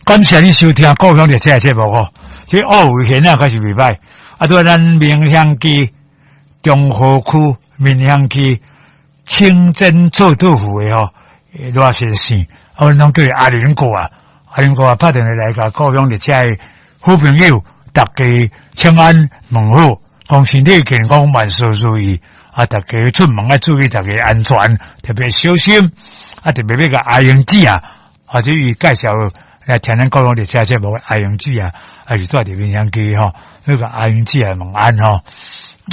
感謝你收聽故鄉列車的節目吼。這奧維賢啊，確實袂歹。啊，對咱民雄區中和區民雄區清真臭豆腐的吼，熱線線，啊，阮攏叫伊阿林哥啊，阿林哥啊，拍電話來共故鄉列車的好朋友，大家請安問好，講身體健康，萬事如意。啊，大家出門愛注意大家安全，特別小心。啊，特別欲共阿英姊啊，或者伊介紹來聽咱故鄉列車節目阿英姊啊，啊是住佇民雄區吼，欲共阿英姊啊問安吼。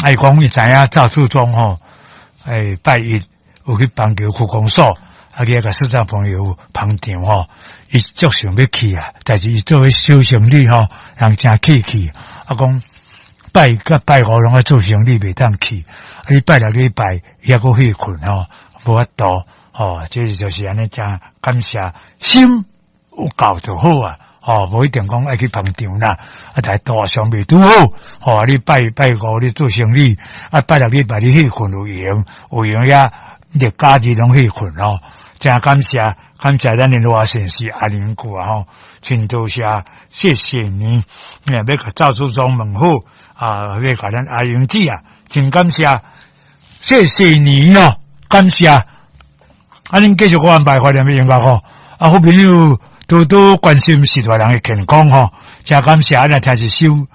啊，伊講伊知影趙樹忠吼，欸，拜一有去板橋區公所，啊去遐共視障朋友捧場吼，伊足想欲去啊，但是伊做小生理吼，人誠客氣，啊講拜一佮拜五攏愛做生理袂當去，啊你拜六禮拜伊猶閣歇睏吼，無法度吼，這就是按呢誠感謝，心有夠就好啊，吼，無一定講愛去捧場啦，啊，但路上袂拄好，吼，你拜拜五你做生理，啊拜六禮拜你歇睏有閒，有閒遐日假日攏歇睏吼，誠感謝，感謝咱的熱線是阿林哥啊吼，真多謝，謝謝你，欲共趙樹忠問好，啊，欲共咱阿英姊啊，真感謝，謝謝你哦，感謝。啊，恁繼續閣安排懷念的音樂吼，啊，好朋友多多關心序大人的健康吼，誠感謝，咱來聽一首。